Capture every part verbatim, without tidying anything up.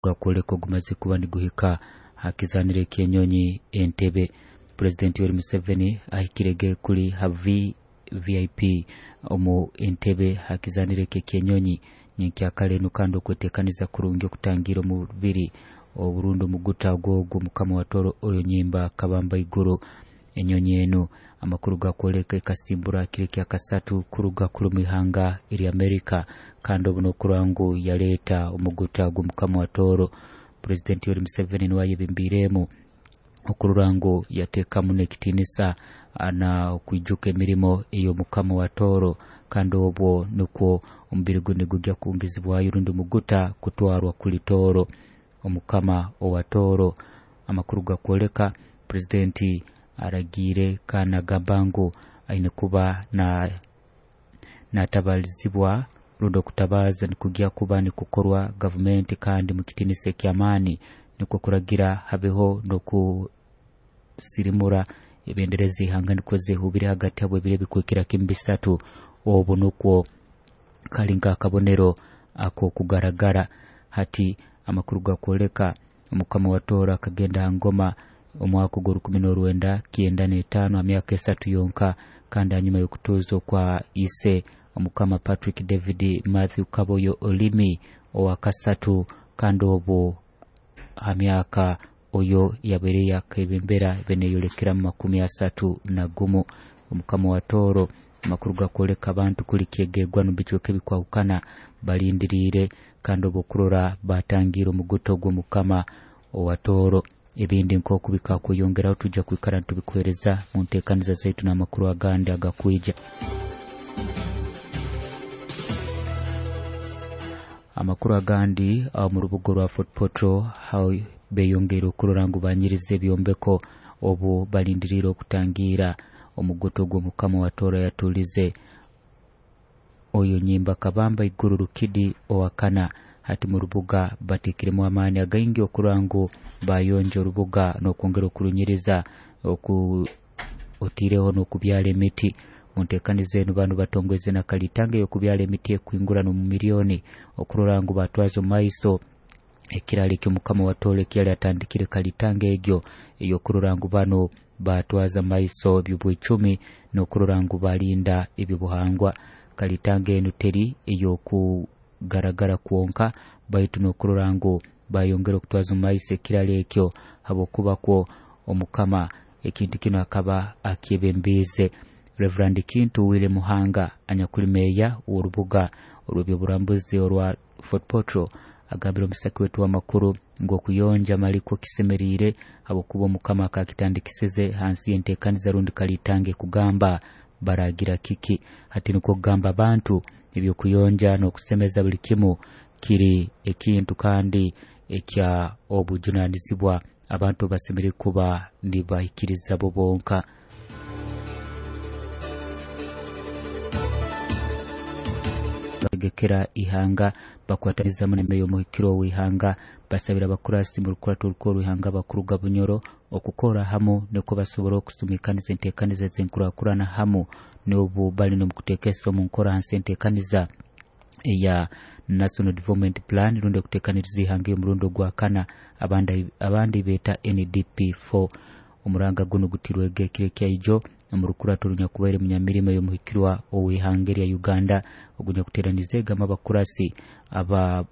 Gakwoleka ogumaze kuba niguhika hakizanire eky'enyonyi Entebe. Pulezidenti Yoweri Museveni ahikirege kuli ha V V I P omu Entebe hakizanire ekyenyonyi nyenkyakara enu, kandi okwetekaniza kurungi okutangira omubiri oburundi omuguta ogwo mukama wa Toro oyo Nyimba Kabamba Iguru. Enyonyi enu amakuru gakwoleka ekasimbura kiro kyakasatu kuruga kuli mwihanga erya Amerika, kandi obu nokurora ngu yaleeta omuguta gw'omukama wa Toro. Pulezidenti Yoweri Museveni niwe ayebembiiremu okurora ngu yateekamu n'ekitiinisa na okwijuka emirimo ey'omukama wa Toro, kandi obwo nukwo omubiri gunu nigujya kungizibwayo rundi omuguta kutwarwa kuli Toro, omukama owa Toro. Amakuru gakwoleka pulezidenti aragiire kandi nagamba ngu aine kuba na natabalizibwa rundi okutabaza nikujya kuba nikukorwa gavumenti kandi mu kitiinisa eky'amaani, nikwo kuragira habeho n'okusirimura ebendera z'ihanga nikwo zehubire hagati abo ebiro ebikwikira kimu bisatu. Obu nukwo kali nk'akabonero ak'okugaragara. Hati amakuru gakwoleka omukama wa Toro akagenda ha ngoma omwaka ogw'orukumi n'orwenda kyenda n'etaano ha myaka esatu yonka, kandi hanyuma y'okutuuza okwa ise omukama Patrick David Matthew Kaboyo Olimi owakasatu, kandi obu ha myaka oyo yabaire yakebembera beneyolekera mu makumi asatu na gumu. Omukama wa Toro, amakuru gakwoleka abantu kuli kyegegwa mu bicweka ebikwahukana balindiriire, kandi obu okurora batangiire omuguto gw'omukama owa Toro. Ebindi nk'oku bikakweyongeraho tujja kwikara nitubikuheereza mu nteekaniza zaitu n'amakuru agandi agakwija. Amakuru agandi, aho mu rubuga rwa Fort Portal aho beyongeire okurora ngu banyiriza ebyombeko obu balindiriire okutangiira omuguto gw'omukama wa Toro yatulize oyo Nyimba Kabamba Iguru Rukidi owakana. Hati mu rubuga bateekiremu amaani againgi okurora ngu bayonja orubuga n'okwongera okurunyiriza oku otiireho n'okubyara emiti. Mu nteekaniza enu banu batongweze na kalitanga ey'okubyara emiti ekwingurana omu miliyoni okurora ngu batwaza omu maiso ekiraro eky'omukama wa Toro ekiyali atandikire, kalitanga egyo ey'okurora ngu bano batwaza maiso eby'obwecumi n'okurora ngu balinda ebyobuhangwa. Kalitanga enu teri ey'okugaragara kwonka, baitu n'okurora ngu bayongera okutwaza omu maiso ekiraro ekyo, habwokuba kwo omukama ekintu kinu akaba akyebembiize. Reverand Kintu Wile Muhanga, anyakuli meeya w'orubuga orw'ebyoburambuzi orwa Fort Portal, agambire omusaki wetu w'amakuru ngu okuyonja malikwo kisemeriire, habwokuba omukama akakitandikisize hansi y'enteekaniza rundi kalitange kugamba baragira kiki. Hati nukwo kugamba abantu ebyokuyonja n'okusemeza buli kimu kiri ekintu kandi ekya obujunanizibwa abantu basemeriire kuba nibahikiriza bo bonka. Bategekera ihanga bakwatanizamu nemeyo omuhikiro w'ihanga, basabira abakurasi mu rukurato orukuru rw'ihanga bakuruga Bunyoro okukora hamu nukwo basobora okusumikaniza enteekaniza ez'enkurakurana hamu n'obu bali n'omukuteekesa omu nkora hansi enteekaniza eya National Development Plan rundi okuteekaniriza ihanga ey'omurundi ogwakana, abandi abandi beeta N D P four. Omuranga guno gutirwege ekiro ekyaijo omu rukurato runyakubaire munyamirimo ey'omuhikirwa ow'ihanga erya Uganda ogunyakuteraniza egamba abakurasi aba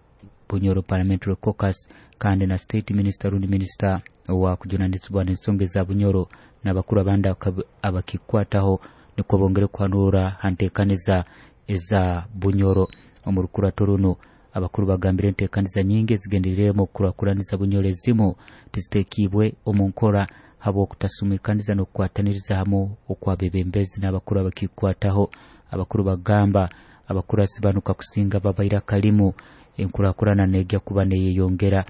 Bunyoro Parliamentary Caucus, kandi na state minister rundi minister owa kujunanizibwa n'ensonga eza Bunyoro n'abakuru abandi abakikwataho, nikwo bongere kuhanura ha nteekaniza eza Bunyoro. Omu rukurato runo abakuru bagambire enteekaniza nyingi ezigendereiremu okukurakuraniza Bunyoro ezimu tiziteekibwe omu nkora habw'okutasumikaniza n'okukwataniriza hamu okw'abebembezi n'abakuru abakikwataho. Abakuru bagamba abakurasi banu kakusinga babaire akalimu, enkurakurana negya kuba neyeyongera.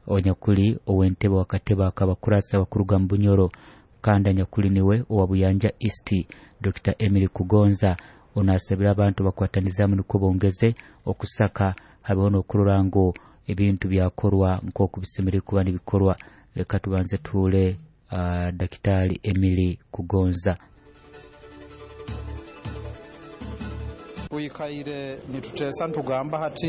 Onyakuli ow'entebe wakatebe akabakurasi abakuruga mu Bunyoro kandi anyakuli niwe owa Buyanja East, Doctor Emily Kugonza, ono asabire abantu bakwatanizamu nukwo bongeze okusaka habeho n'okurora ngu ebintu byakorwa nk'oku bisemeriire kuba nibikorwa. Leka tubanze tuhure uh, Dakitari Emily Kugonza. Twikaire nituteesa nitugamba hati.